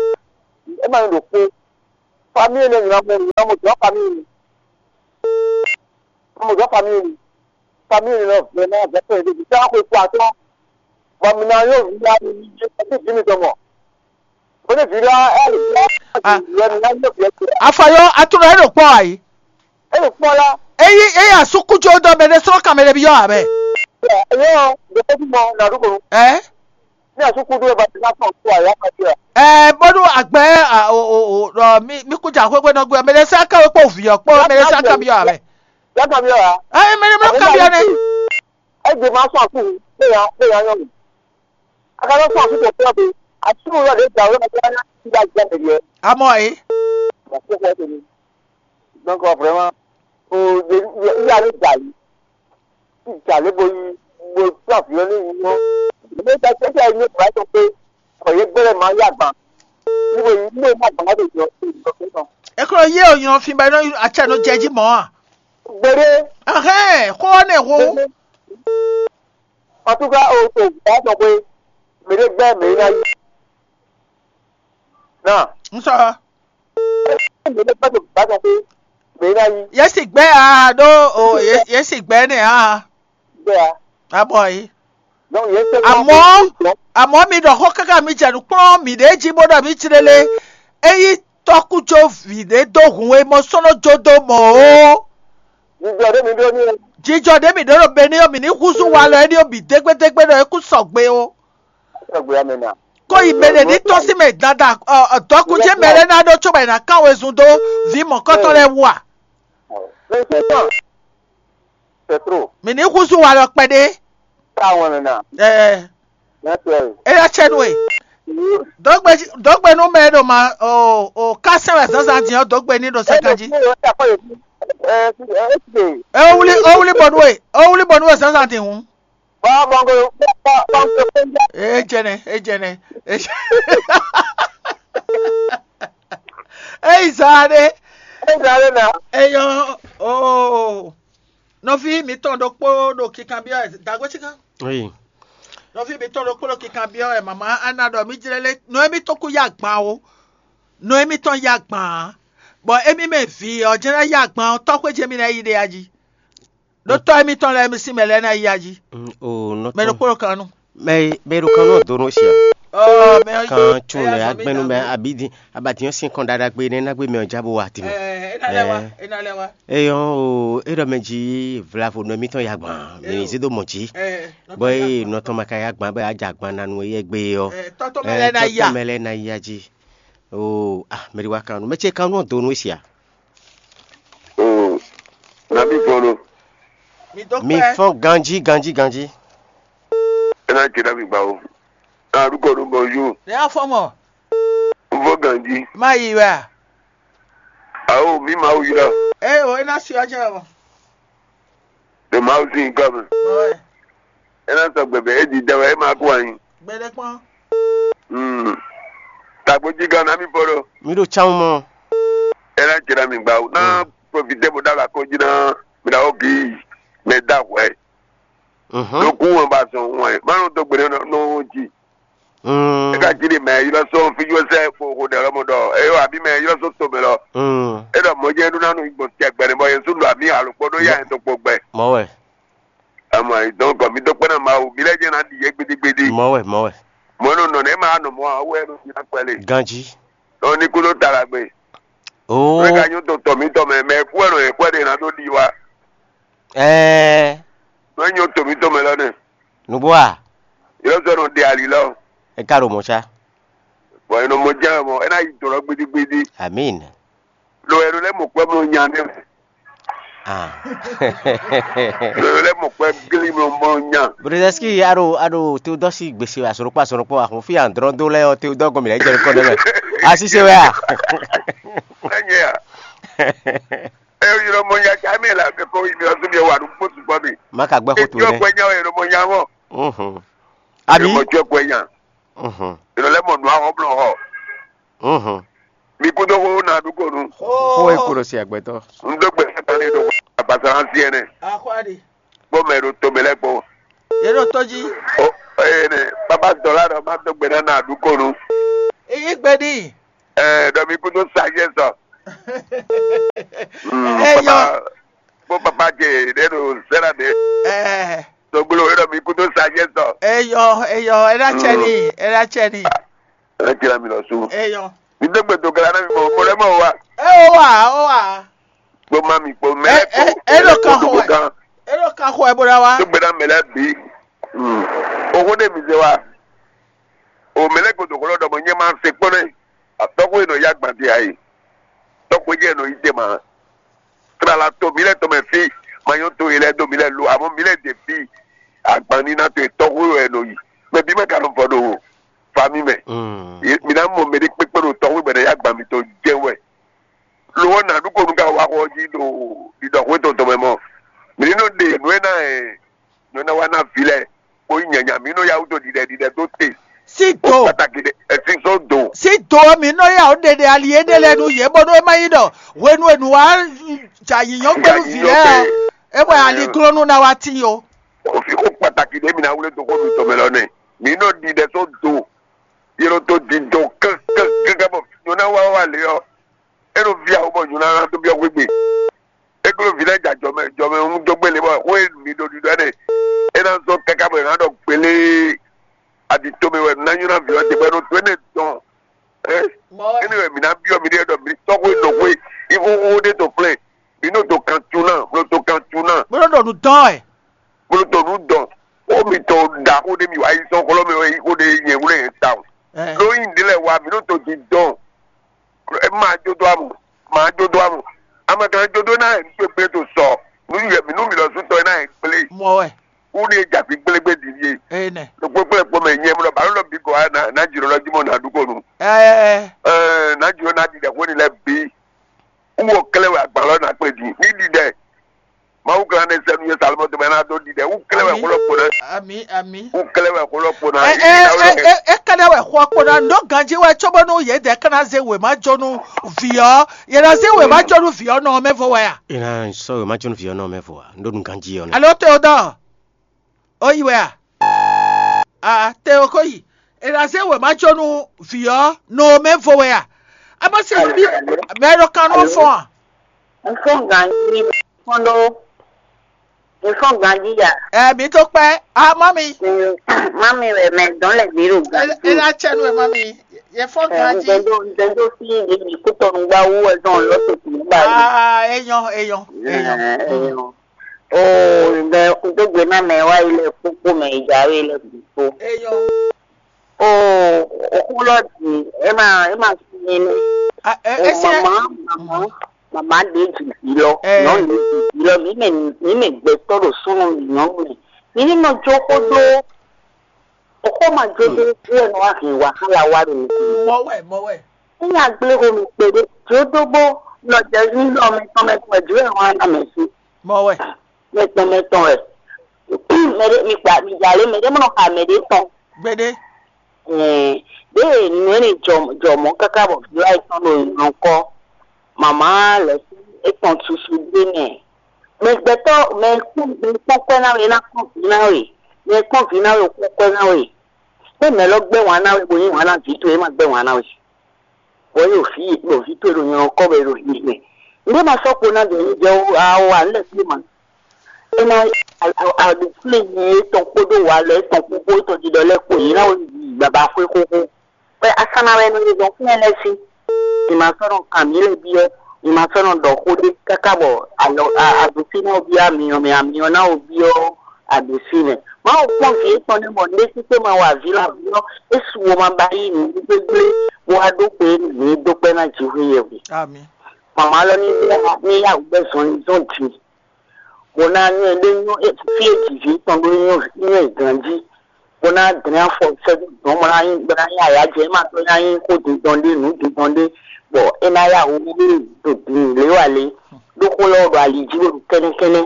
É ma nyí ɖokpó. Famille lɛ nyina mo nyina mo dɔn famille. Mo dɔn famille. Famille lɔ vraiment vɛtɛ de ta ko ko atɔ. Ba mi na yo vi la ni ni je ti vi mi tɔmɔ. Bone vi la e vi la. Ah. Ye mi na yo vi. Afayɔ atúnɔ ɛ ɖo kpɔ ayi. E ɖo kpɔ la. Eyi eyi asukújo dɔ mɛ ɖe sɔrɔ kan mɛ ɖe bi yɔ abɛ. Yo de ko mo na du ko. Ɛ. Ní àsúkúdú ẹ bá ti ná fún ọ̀tún àyà máa jẹ. Ɛ bónú àgbẹ̀ ò ò ò ɔ mi mi kú jà xwéxwé náà gbé mɛ lɛ sá káwé kpó vǐ ɔ kpó mɛ lɛ sá kámi ɔ abɛ. Yàtọ̀ mi ọ̀ yà. Ɛ mɛ lɛ mɛ kámi ɔ nɛ. Ẹ jẹ máa fún àkú bẹ́ẹ̀ yà bẹ́ẹ̀ yà yọ̀ mi. Akadọ́ fún àkú tó pẹ́ bi àsúkú yọ̀ dé jà wọ́n yà yà ti yà jẹ́ mi yẹ. Amɔ ɛ. Donc vraiment o yà ní jà yìí. Ìjà lé bo yi bo tó àfihàn ní ìlú wọn. Ìlú ta tẹ́tẹ́ ní ìgbà tó pé ọ̀yẹ́ gbẹ́rẹ́ máa yá gbà. Níbo yìí ní ìlú àgbà tó jọ ìjọ tó tán. Ekolo ye o nyɔ fi ba no acha no jẹji mɔ a. Gbede. Ahɛn ko ne ho. Patuka o to ìgbà tó pé mèrè gbẹ́ mèrè náà yí. Náà. N sɔ. Mèrè gbẹ́ tó ìgbà tó pé mèrè náà yí. Yesi gbɛ a ɖo o ye- yesi gbɛ ne a. Gbɛ a. Abɔ yi. Donc yẹn tẹ. Àmọ́ àmọ́ mi ɖɔ xó káká mi jɛ nǔkplɔ́n mi ɖě jí bó ɖɔ mi jí lélé. Eyi tɔkújó vǐ ɖé dó hun e mɔ sɔ́nɔ́ jó dó mɔ o. Jijɔ ɖé mi ɖó ní. Jijɔ ɖé mi ɖó ɖo be ní ɔ́ mi ní húzú walɔ ɛ́ ní ɔ́ bǐ dégbédégbé ɖɔ é kú sɔgbe o. Sɔgbe amɛ na. Kó yi mɛ ɖe ní tɔ́n sí mɛ dada dɔ̌kújé mɛ lɛ́ɛ ná ɖó cóbɔ è nǎ kán wezun dó vǐ mɔ̌kɔtɔn lɛ́ɛ wú a? Mɛ sɛ tán. C'est trop. Mi ní húzú walɔ kpɛɖé. Táwọn nana. Ɛɛ. Mɛ tɛ. Eya tsɛ nu e. Dɔgbe dɔgbe nu mɛ ɖo ma o o kásɛn wɛ zazan din ɔ dɔgbe ní ɖo sɛkan jí. Ewuli ewuli bɔnu e ewuli bɔnu e zazan din hun. Bɔn bɔn ko bɔn ko fɛn jɛ. Ejɛnɛ ejɛnɛ ejɛnɛ. Eyi zaa ɖe. Eyi zaa ɖe na. Eyɔ oo. Nɔví mǐtɔn ɖokpó ɖo kikanbyɔ́ wɛ dǎgbécikan. Oui. Nɔví mǐtɔn ɖokpó ɖo kikanbyɔ́ wɛ mama ana ɖɔ mí jlɛ́ lé nɔ émítɔn kú yá agban o. Nɔ émítɔn yá agban ǎ. Bɔ émí mɛ vǐ ɔ́ jɛ́n ná yá agban ɔ́ tɔ́xwé jɛ́n mí ná yí ɖe a jí. Ɖó tɔ́ émítɔn lɛ́ɛ sín mɛ lɛ́ɛ ná yí a jí. Mm, o nɔ Mɛ tɔn. Ɖokpó ɖo kan nu. Mɛ mɛ ɖo kan nɔ do nɔ sia. Ɔ mɛ ɔ Kan tún lɛ agbɛnu mɛ abidi abadiyan sin kɔn ɖaɖa gbe ne na gbe mɛ ɔ ja bo wa ti mɛ. Ɛ ena lɛ wa ena lɛ wa. Eyɔn o e ɖɔ mɛ ji vlavo nɔ mitɔn ya gban mi zi do mɔ ji. Ɛ Bɔ e nɔ tɔn ma ka ya gban bɛ a ja gban na nu ye gbe yɔ. Ɛ tɔtɔ mɛ lɛ na ya. Mɛ lɛ na ya ji. O ah mɛ ɖi wa kan nu mɛ ce kan nɔ do nɔ sia. Oh, nabi gbɔn lo. Mi dó Mi pẹ́. Fɔn ganji ganji ganji. Ena ce nabi gba o. Arúgbó ló bọ yó. Ní afọ́mọ̀, N fọ ganji. Má yí wẹ́ à. Awo mi ma wu yọ. Ẹ o, iná sí ọjọ́ ẹ̀wọ̀n. De ma wu sí nǹkan mi. Bọ̀wẹ̀. Ena sọ gbẹbẹ e di dẹwẹ e ma kó anyi. Gbẹdẹkpọ́n. Hmm. Tagbo ji gan na mi fọ lo. Mi ɖo tsan mɔ. Ena ce nabi gba o. Na profite bo dala ko ji na. Mi na o ki. Mɛ da hwɛ. Mhm. Ɖo kú wọn ba sɔn wọn. Ma nɔ dɔ gbe nɔ nɔ ji. Mm. E ka ji ɖe mɛ yi lɔ sɔn fi yɔ sɛ ko ko ɖe lɔ mɔ ɖɔ. E yɔ abi mɛ yi lɔ sɔn to mɛ lɔ. Mm. E ɖɔ mɔ jɛ ɖo na nu gbɔn tɛ gbɛ ne bɔ Yesu ɖo ami alo kpɔ ɖo ya yɛ to kpɔ gbɛ. Mɔ wɛ. Ama yi dɔn kɔ mi dɔ kpɛ na Mawu mi lɛ jɛ na ɖi yɛ gbedegbede. Mɔ wɛ mɔ wɛ. Mɔ nɔ nɔ ne ma nɔ mɔ awu yɛ nɔ fi na kpɛ le. Ganji. Nɔ ni kú ló ta la gbe. Oo. Mɛ ka nyɔ to tɔ mi tɔ mɛ mɛ kú yɛ nɔ yɛ kú yɛ de na ɖo ɖi wa. Ɛɛ. Nɔ nyɔ to mi tɔ mɛ lɔ ne. Nugbo a. Yɔ sɔ nɔ ɖe ali lɔ. E ka ɖo mɔ sa. Bɔn e nɔ mɔ jɛ mɔ e na yi dɔlɔ gbidigbidi. Amin. Lo e nɔ lɛ mɔ kpɛ mɔ nya ne. Ah. Lo e nɔ lɛ mɔ kpɛ gli mɔ mɔ nya. Brother Ski, aro aro to dɔ si gbese asoro kpa asoro kpa ahun fi andrɔ do lɛ o te dɔ gɔmi lɛ jɛ kɔ dɛ mɛ. Asise wɛ a. Enye ya. E yɔ mɔ nya cha mi la ke ko mi la so mi wa du kpo tu kpɔ mi. Ma ka gbɛ ko tu ne. Jɔ kpɛ nya o e nɔ mɔ nya mɔ. Mhm. Abi. E mɔ jɔ kpɛ nya. Mhm. E nɔ lɛ mɔ nu ahɔ blɔ hɔ. Mhm. Mi kúdó xó na dúkònú. Xó e kpo ɖo se agbɛtɔ. N dó gbe sɛtɔn ní ɖo abasa hã sí ɛnɛ. Axɔ́aɖi. Kpó mɛ ɖo tomɛ lɛ́ kpó. Yě ɖo tó jí. O e Ene, papa dɔla ɖɔ ma dó gbe ná na aɖukɔnu. Yí gbe n'i. Ɛ ɖɔ mi kúdó sagesse ɔ. Mm, Eyɔ. Papa, bó papa ce ɖe ɖo zɛra ɖe. Ɛ Doglo ɖɔ mi kúdó sagesse ɔ. eyɔ eyɔ ɛ ɖa tsɛ ni ɛ ɖa tsɛ ni. Ɛ tira mi lɔ su. Eyɔ. Mi dó gbe dogla ná mi mɔ mo lɛ mɔ wa. Ɛ o wa o wa. Kpó má mi kpó mɛ Ɛ- lɛ kpó. ɛ- ɛ lɔ ka xɔ Kpó ɛ. Ɛ ɖo ka xɔ ɛ bó ɖa wa. Tó gbé ná mɛ lɛ bí. Owó ɖé mi zé wa. O mɛ lɛ gbɔdɔ kɔlɔ ɖɔ mɔ nyɛ ma se kpɔ́ nɛ. Atɔkɔ yɛ nɔ ya gbadé ayi. Tɔkɔ yɛ nɔ yi dé ma. Trala to mi lɛ tɔmɛ fi. Ma nyɔ to yi lɛ do mi lɛ lo. Amɔ mi lɛ de fi. Agbanni na to tɔkɔ yɛ nɔ yi. Mɛ bí mɛ ka nɔ fɔ ɖo fami mɛ. Mm. Ye- Mi ná mɔ mɛ ɖé kpékpé ɖo tɔkɔ gbɛdɛ ya gban mi to jɛ wɛ. Lo wɔ na ɖu ko nu ka wa xɔ ji ɖo ɖiɖɔ xwe tɔn tɔmɛ mɔ. Mi ní nɔ ɖe nǔ e ná ɛ. Nɔ ná wa ná vi lɛ kpó nyanya mi nɔ ya wúto ɖiɖɛ ɖiɖɛ dó te. Si Ó do pàtàkì ɖe ẹsìn só do. si do mi nɔ ya o ɖeɖe ali yé ɖe lɛ nu yé bɔnú e ma yi ɖɔ hwenu e nu wa ja yiyɔn gbɛnu vi lɛ ɔ e wɛ ali glɔnu na wa ti o. Òfin kó pàtàkì ɖe mi ná wúlé dó kó mi tɔmɛ lɔ nɛ. Mi nɔ ɖiɖɛ só do. Yé ló tó di do kán kán kán kán bɔ nyɔ ná wá wá lé ɔ. É nɔ vi awo bɔ nyɔ ná tó biɔ gbégbé. É klo vi lɛ ja jɔmɛ jɔmɛ ń dó gbélé bɔ xó e mi ɖo ɖiɖɔ ɛnɛ. É ná zɔn káká bɔ é ná ɖɔ gbélé. Adi tó mi wɛ ná nyɔ ná vi ɔ te bɔ é nɔ tó énɛ́ dɔn. Ɛ Mɔ wɛ. Énɛ́ wɛ mi ná biɔ mi ɖe ɖɔ mi tɔxó e nɔ xó e. Ivo xó ɖé to kplɛ́n. Mi nɔ to kan tún ná, nɔ to kan tún ná. Bó nɔ ɖɔ nu dɔn ɛ. Bolo to nu dɔn. Ó mi to da xó ɖé mi wá yi sɔn xlɔ́ mi wɛ yi xó ɖé nyɛ wúlé yẹn ta o. Ɛ. Ló yí ndé lɛ wá mi nɔ to di dɔn. Ɛ ma jó dó amɔ, ma jó dó amɔ. Ame kan jó dó ná yɛ nígbègbè tó sɔ. Nu yɛ mi nu mi lɔ sún tɔ ná yɛ gblé. Mɔ wɛ. Wú ni ja fi gblégbe di yé. Eye nɛ. Ló kpé kplé kpɔmɛ nyɛ mlɔ balo lɔ bi gɔ na na jiro lɔ jimɔ na dúkɔ nu. Ɛ Ɛɛ na jiro na di dɛ xó ni lɛ bi. Wú wɔ kɛlɛ wɛ agbalɔ na kplé di. Ní di dɛ. Mawu kan ne sɛnu ye salomɔ tɔmɛ na do di dɛ. Wú kɛlɛ wɛ xó lɔ kpo na. Ami ami. Wú kɛlɛ wɛ xó lɔ kpo na. Ɛ ɛ ɛ ɛ kɛnɛ wɛ xɔ kpo na ndo ganji wɛ tso bɔnu yɛ dɛ kana ze wema jɔnu viɔ yɛ na ze wema jɔnu viɔ nɔ mɛ vo wɛ a. Ina sɔ yo ma tún fi ɔnɔ mɛ fo wa. Ndo nu ganji ɔnɔ. Alo Théodore. O yi wɛ a. A te o ko yi. Yɛ na ze wema jɔnu viɔ nɔ mɛ vo wɛ a. A ma se bi mɛ ɖo kan nɔ fɔn a. N fɔ́n ganjí kpɔ́n ɖó. N fɔ́n ganjí ya. Ɛ mi tó kpɛ a ma mi. Mami wɛ mɛ dɔn lɛ gbé ɖo ganjí. Ela tsɛ nu ɛ ma mi. Yɛ fɔn ganji. Ŋdɛndo ŋdɛndo fi ɖe mi kútɔnu gbá wú wɛ zɔn lɔ tó tún gbá yìí. Aa eyɔn eyɔn eyɔn. Ɛɛ, ɛɛ, o ŋdɛ ŋdógbe ná mɛ wá yi lɛ kpókpó mɛ ìjà wé lɛ gbogbo. Eyɔn. O òkú lɔ dì ẹ má ẹ má fi yẹn ní. A ɛ O ɛ sɛ. màmá màmá màmá dé jìbì lọ. Ɛ. Nọ ní jìbì lọ mí mɛ mí mɛ gbɛtɔ ɖo súnú mì nyɔnu mɛ. Mí ní nɔ jó kó dó. Òkú ma jó dó bí ẹ nọ wá hìn wàhálà wá ɖo nìkú. Mɔ wɛ mɔ wɛ. Ní agblého mi kpe ɖé jó dó bó nɔ jɛ ní lɔ mɛ tɔn mɛ tɔn ɛ jó ẹ wá ná mɛ sí. Mɔ wɛ. Mɛ tɔn mɛ tɔn ɛ. Mɛ ɖé mi kpa mi jà lé mɛ ɖé mɔ nɔ xa mɛ ɖé tɔn. Gbede. Ɛɛ, ɖe nǔ e jɔ jɔ mɔ káká bɔ vǐ wá etɔn ɖo nyɔ̌kɔ. Mama lɛ etɔn susu ɖé nɛ. Mɛ gbɛtɔ́ mɛ kpɔ́n mɛ kpɔ́n kwɛ́ ná we, é ná kpɔ́n vǐ ná we. Mɛ kpɔ́n vǐ ná we, kpɔ́n kwɛ́ ná we. Ɖé mɛ lɔ gbɛ́ wǎn ná we, bo yí wǎn ná vǐ towe, é ma gbɛ́ wǎn ná we. Bɔ é ɖo vǐ bɔ vǐ towe ɖo nyɔ̌kɔ bɔ é ɖo hihi mɛ. Nǔɖé ma sɔ́ kpo ná dɔn jɛ awo a lɛ kpé ma. É ná aɖukúnlé yi etɔn kpódó wǎ lɔ etɔn kpókpó etɔn ɖiɖɔ lɛ́ɛ kpo yě ná wɛ yi baba xwé xóxó. Bɔ asana wɛ nɔ yi zɔn fún ɛnɛ sí. Mǐ ma sɔ́ nɔ kan mǐ lɛ́ byɔ́, mǐ ma sɔ́ nɔ ɖɔ xó ɖé káká bɔ alɔ aɖusí ná wɔ byɔ́ amyɔ mɛ, amyɔ ná wɔ byɔ́ aɖusí mɛ. Mawu kpɔ́n vǐ étɔn nɛ́ bɔ nɖésíkpé ma wa vǐ lɔ avǐ ɔ́, é su wo ma ba yí nǔ gbégbé, bó wá ɖó xwe nǔ e dó kpɛ́ ná Jihweyɛhwe. Ami. Mama lɔ ní bia ní yá wǔ bɛ́ zɔnlin zɔn din. Bó ná nyɔ́ ɛ ɖé nyɔ́ fí e jǐ vǐ tɔn ɖó nyɔ́ nyɔ́ ɛ ganjí. Bó ná dlɛ́n afɔ sɛ́dó dɔn bó ná nyí bó ná nyí ayǎjɛ é ma tó ná nyí xó dindɔn ɖé nǔ dindɔn ɖé. Bɔ é ná yá wǔ ɖé ɖo din lě wa lě. Ɖó xó lɔ ɖo ali jí bó ɖo kɛ́nɛ́kɛ́nɛ́.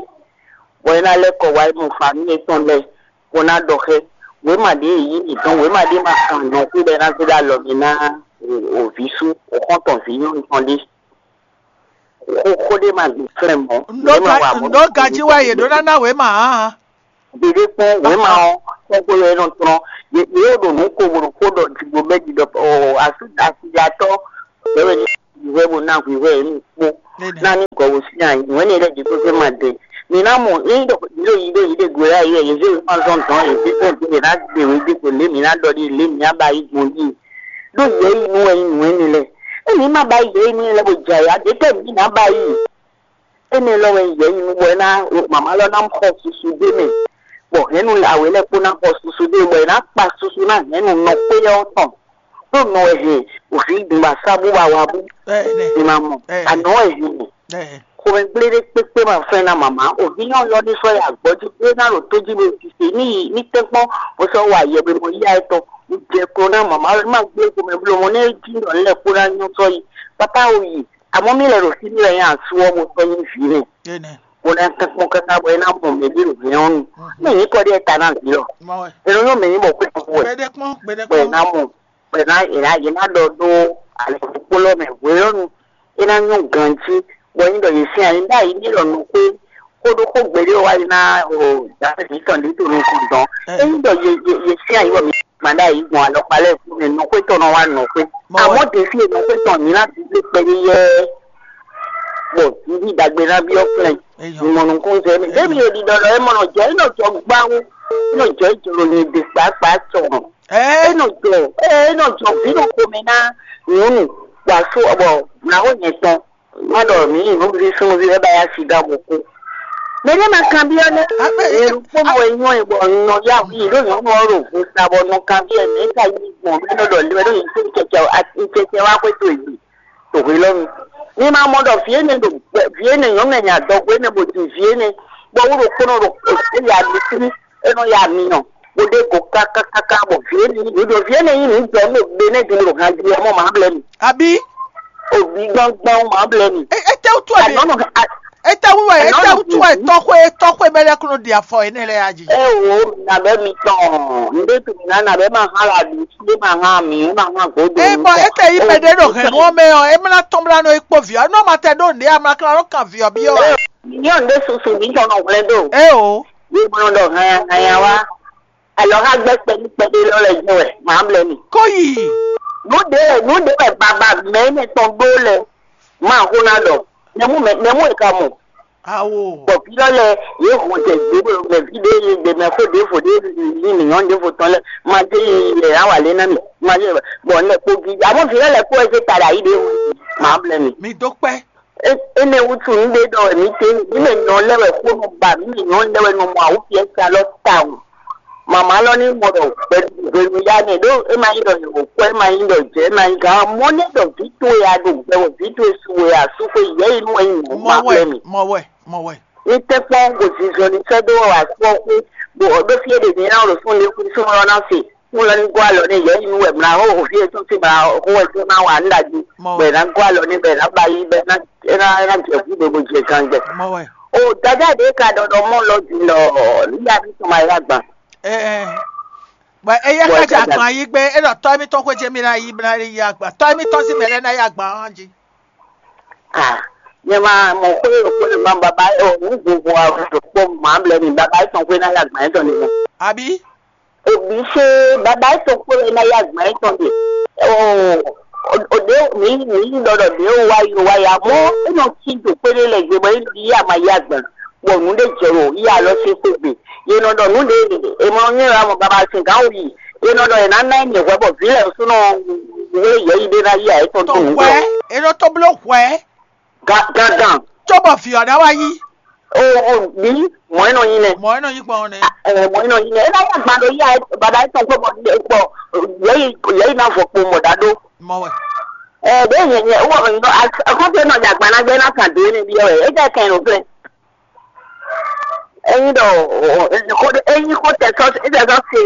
Bɔ é ná lɛ́ kɔ wá é mɔ famíli étɔn lɛ́ɛ. Bó ná ɖɔ xɛ. Wěma ɖě e yí mǐtɔn wěma ɖé ma kan nɔ xú ɖɛ ná zé ɖó alɔ mi ná òvǐ sú òxɔ́ntɔn vǐ nyɔ́nu tɔn ɖé. Xó xó ɖé ma gbè flɛ́n mɔ̌. Ndo ga ndo gaji wa ye ɖo nana we ma hã. Ɖeɖe kpɔ́n wěma ɔ́ kpɔ́kpɔ́ lɛ́ɛ nɔ tlɔ́n. Yě yě ɖo nǔ ko bó ɖo xó ɖɔ jǐgbó bɛ́ ɖi ɖɔ ɔ asú asijatɔ́ lɛ́ wɛ ní hwíhwɛ́ bó ná hwíhwɛ́ yě ní kpó ná ní gɔ̌ bó sín ayi nǔ énɛ́ lɛ́ɛ ɖě kpó fɛ́ ma dɛ. Mi ná mɔ ényí ɖɔ yě ɖo yi ɖó yě ɖe gbe wá yě yě zé wěma zɔn dɔn yě zé fɛn dó yě ná ɖe wě dé ko lě mǐ ná ɖɔ ɖi lě mǐ ná ba yi gbɔn ɖi. Ɖó yě yi nú wɛ nyí nǔ énɛ́ lɛ́ɛ. Ényí má ba yi yě yi nú lɛ́ɛ bó jɛ ayǎ ɖě tɛ́ mǐ ná ba yi. Énɛ́ lɔ wɛ yɛ yi nú bɔ é ná mama lɔ ná xɔ susu ɖé mɛ, bɔ hɛ̌nnu awě lɛ́ɛ kpó ná xɔ susu ɖé, bɔ è nǎ kpa susu ná hɛ̌nnu nɔ xwé ɔ́ tɔn, ɖó nɔ wɛ hɛn òfin gbǐn ba sá bó ba wa bú. Ɛ, ɛ, È ma mɔ ɛ, anɔ wɛ hɛn ɛ, xomɛ gblé ɖé kpékpé ma fɛn ná mama òfin nyɔ́ yɔ ní sɔ́ ya gbɔ́ jí é ná ɖo tó jí bó sise ní yi ní tɛ́nkpɔ́n bó sɔ́ wa yɛ bó mɔ yíyá étɔn. Jɛ klo ná mama lɔ ní ma gblé xomɛ bló mɔ ní é jí nɔ lɛ́ɛ kpó ná nyɔ́ sɔ́ yi. Papa o yi. Àmọ́ mì lɛ́ ɖo fí mì wɛ nyɛ asú ɔ́ bó sɔ́ nyí vǐ nɛ́, bó ná tɛ́nkpɔ́n káká bɔ é ná mɔ mɛ ɖé ɖo hɛn ɔ́ nu. Mɛ nyɛ kɔ ɖíe ta ná vǐ lɔ. È nɔ nyɔ́ mɛ nyí bɔ xwé fún wɛ, bɔ è ná mɔ, bɔ è ná è ná yě ná ɖɔ ɖó alɛkpókpó lɔ mɛ hwelɔ́nu. É ná nyɔ́ ganjí, bɔ nyí ɖɔ yě sín ayi ɖó ayi ní ɖɔ nukún kódó xó gbeɖé wá yi ná o dǎwe mǐtɔn ɖě to nukún dɔn. Ényí ɖɔ yě yě yě sín ayi bɔ mǐ gbǎn ɖó ayi gbɔn alɔkpa lɛ́ɛ fún mɛ nɔxwé tɔn nɔ wá nɔxwé. Àmọ́ ɖě fí e nɔxwé tɔn nyǐ ná bǐ kpɛɖé yɛ́, bɔ nǔɖi ɖagbe ná byɔ́ flɛ́. Mɔ nukún zɛ mɛ. Débi e ɖiɖɔ lɔ é mɔ nɔ jɛ é nɔ jɔ gbáwó, é nɔ jɔ é jɔ nyi ɖe kpákpá tɔn. É nɔ jɔ é nɔ jɔ vǐ ɖo xomɛ ná nyɔ̌nu, bɔ asú bɔ nǎxó nyɛ tɔn má ɖɔ mǐ yi nǔɖuɖu súnnuví wɛ ba yá siga bó kú. Mɛ ɖé ma kanbyɔ́ nɛ́. Nyɛ ɖokpónɔ wɛ nyɔ́ ɛ bɔ un nɔ yá wǔ yi ɖó nyɔ̌nu ɔ́ ɖo vo sa bɔ un nɔ kanbyɔ́ ɛ mɛ é ka yí gbɔn mɛ nɔ ɖɔ lé wɛ ɖó nyɛ tó cɛcɛ cɛcɛ wá xwé towe gbe to hwelɔ́nu. Mi ma mɔ ɖɔ vǐ énɛ́ ɖo vǐ énɛ́ nyɔ̌nu nya dɔgo énɛ́ bó din vǐ énɛ́ bɔ wú ɖokpónɔ ɖo éya ɖo sí é nɔ ya myɔ bó ɖe go kákákáká bɔ vǐ énɛ́ nyí nǔ vǐ énɛ́ nyí nǔ jɔ nú gbe nɛ́ din ɖo han jí ɔ́ mɔ mǎ blɛ́ mi. Abǐ? Òbí gbɔngbɔn mǎ blɛ́ mi. Etɛ́wútu wɛ mi? Ànɔ́nɔ Etɛ́wú wɛ etɛ́wútu wɛ tɔ́xwé tɔ́xwé mɛ lɛ́ɛ kún nɔ ɖi afɔ énɛ́ lɛ́ɛ a jí? Ɛ wo nabɛ mi tɔn nde tu na nabɛ ma ha la du nde ma ha mi ma ha godo. Ɛ bɔ ete yi mɛ ɖe ɖo hɛn nú ɔmɛ ɔ, e mla tɔn bla nɔ yi kpó vǐ ɔ, nú ɔmɔ tɛ ɖó nde amla kla nɔ kan vǐ ɔ byɔ́ wa. Nyɔn de susu mi tɔn nɔ hwlɛn do. Ɛ o. Ye mɔ dɔ hanya hanya wa. Alɔ ha gbɛ kpɛɖi kpɛɖi lɔ lɛ jɛ wɛ ma blɛ mi. Kó yi. Nu de nu de wɛ baba mɛ ne tɔn ɖó lɛ. Ma ho na dɔ. Nɛmu mɛ nɛmu e ka mɔ. Awo. Bɔ fi lɔ lɛ ye ho jɛ gbe bɔ mɛ fi de ye de mɛ fo de fo de ni ni nyɔn de fo tɔn lɛ ma de ye ye awa le na mi ma ye bɔ ne ko gi amo fi lɔ lɛ ko ese ta da yi de ma blɛ mi. Mi do kpɛ. Ene wutu nu de dɔ mi te mi me nyɔn lɛ wɛ ko nu ba mi me nyɔn lɛ wɛ nu mɔ awu fi esa lɔ ta wu. Mama lɔ ni mɔ dɔ gbɛ hwenu ya ne ɖo e ma yi dɔ yi wò kɔ e ma yi dɔ jɛ e ma yi gan mɔ ne dɔ vi to ya do gbɛ wò vi to esu wò ya su ko yɛ yi nu wɛ yi mɔ ma blɛ mi. Mɔ wɛ, mɔ wɛ. Ní tɛ́kpɔ́n bó zinzɔn ní sɛ́ dó wɔ asú ɔ́ xwé, bó ɔ́ ɖó fí é ɖě ní ná ɖo súnnu ní kú súnnu ɔ́ ná se. Súnnu lɔ ní gɔ́ alɔ ní yɛ̌yi nú wɛ mlá hó hǒví e tɔ́n sín mlá hó wɛ tó ná wa ní ɖagbe. Bɔ è ná gɔ́ alɔ ní bɔ è ná ba yí bɔ é ná é ná é ná jɛ hú bó bó jɛ ganjɛ. O dada ɖě ka ɖɔ ɖɔ mɔ lɔ din lɔ nígbà tí tɔn ma yá gbà. Bɔ eya ka dza gbɔn ayi gbé, é ɖɔ tɔ́ émítɔn xwé jɛ mí ná yí bó ná yá gbà. Tɔ́ émítɔn sín mɛ lɛ́ɛ ná yá gbà hán jí. Ah, nyɛ ma mɔ xwé xwé ma baba o nu vovo a ɖokpó ma blɛ mi baba etɔn xwé ná yá gbà etɔn ni. Abi? Obi se baba etɔn xwé ná yá gbà etɔn ni. O o de mi mi dɔdɔ de o wa yi o wa ya mɔ e nɔ ki do xwé ɖe lɛ gbe bɔ e nɔ yi ama yá gbà bɔ nu ɖe jɛ o yi alɔ se xwé gbe. Ye nɔ dɔ nu ɖe e mɔ nyɛ la mɔ baba se gã o yi. Ye nɔ dɔ e na na nyɛ hwɛ bɔ vi lɛ sunɔ wele yɛ yi ɖe na yi a etɔn to nu. Hwɛ, e nɔ to blo hwɛ. Gangan. Cóbɔ vǐ ɔ́ ná wá yí. O o bí mɔ̌ é nɔ nyi nɛ. Mɔ̌ é nɔ nyi gbɔn nɛ. Ɛ mɔ̌ é nɔ nyi nɛ. É ná yá gban ɖo yá bàbá é tɔn kó mɔ kpɔ yɛ́yi yɛ́yi ná vɔ kpo mɔ dá ɖó. Mɔ wɛ. Ɛ bɛ yɛ yɛ wɔ nɔ akɔfɛ nɔ dza gban ná gbɛ ná kan dé ne bi wɛ é jẹ kɛn nɔ flɛ. Eyin ɖɔ eyin xo tɛ sɔ tɛ sɔ se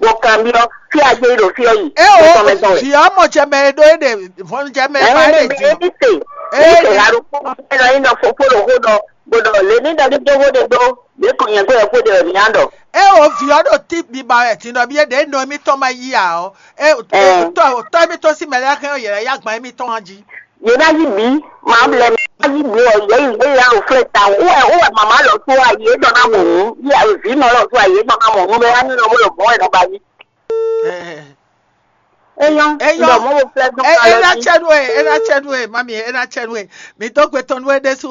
bɔ kan bi ɔ fi a jɛ yi ɖo fi ɔ yi. E o fi ɔmɔ jɛ mɛ ɖo e ɖe vɔn jɛ mɛ ma e ɖe di. Eyin se eyin se ha ɖo kpɔkpɔ ɛ nɔ yin ɖɔ fofo ɖo xo ɖɔ gbɔdɔ le ní ɖɔ ní dó xo ɖe ɖó ɖě kò nyɛ gbé yɛ xo ɖe ɔ ní a ɖɔ. E o vi ɔ ɖo tí biba wɛ tin ɖɔ bi e ɖe nɔ mi tɔn ma yi a ɔ e tɔ tɔ mi tɔn si mɛ lɛ hɛn ɔ yɛ lɛ ya gban mi tɔn a jí. Yě ná yí bǐ, mǎ blɛ́ mǐ ná yí bǐ ɔ, yě yi yě ya ɖo flɛ́ ta o. Wɛ wɛ mama lɔ tó ayi é dɔ ná mɔ nǔ, yí vǐ nɔ lɔ tó ayi é dɔ ná mɔ nǔ bɛ wá ní lɔ bó lɔ mɔ̌ wɛ nɔ ba yí. Eh, Eyɔn, Eyɔn. Dɔ mɔ wo flɛ́ dɔn eh, ka e lɔ na jí. tsɛ nú ɛ, e na tsɛ nú ɛ, mami, e na tsɛ nú ɛ. Mi dó gbe tɔn nú ɛ ɖésú